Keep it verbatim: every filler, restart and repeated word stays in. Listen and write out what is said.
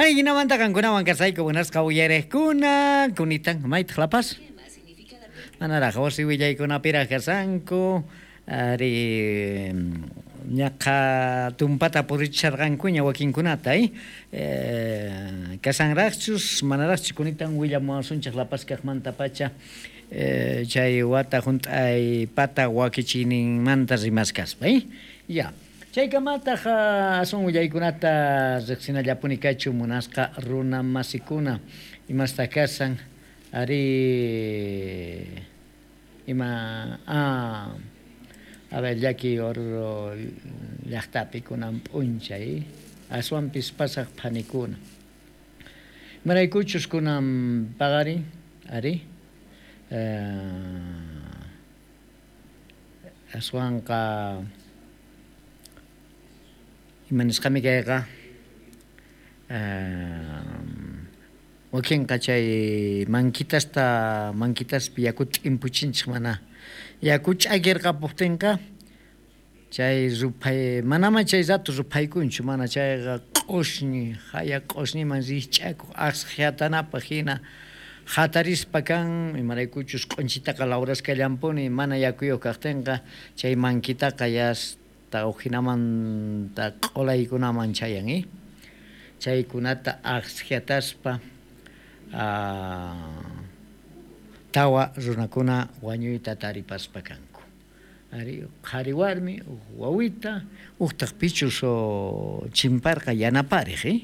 Jinamanta qankunawan kasayku, munasqa uyariqkuna, kunitan maytaq La Paz? Manaraq wasi willaykunapiraq kasanku, ari ñaqa tumpata purichisharqankuña wakinkunata, eh? eh kasanraqchus manaraqchus kunitan willamuwasunchik La Paz kaqmantapacha eh, chay wata hunt'ay pata wakichiyninmanta rimaskaspa, eh? Ya. Chaykamataq aswan willaykunata riqsinallapuni kachu munasqa runa masikuna imasta kasan ari ima ah, a ver llaki Oruro llaqtapi kunan p'unchay aswanpis pasaq phanikuna imaraykuchus kunan paqarin ari eh, aswanqa ima nisqami kayqa wakinqa chay mankitasta mankitaspi yakuta t'impuchinchik mana yaku ch'akirqapuptinqa chay ruphay manama chay rato ruphaykunchu mana chayqa q'ushñi haya q'ushñiman rikch'akuq aqshatanapaq hina hatarispa kan imaraykuchus q'unchitaqa lawraskallanpuni mana yakuyuq kaqtinqa chay mankitaqa yasta ujinamanta q'ulaykunaman chayan eh chaykunata aqshataspa tawa runakuna wañuyta taripaspa kanku ari qhari warmi uj wawita ujtaq pichus chimparqa yanapariq eh.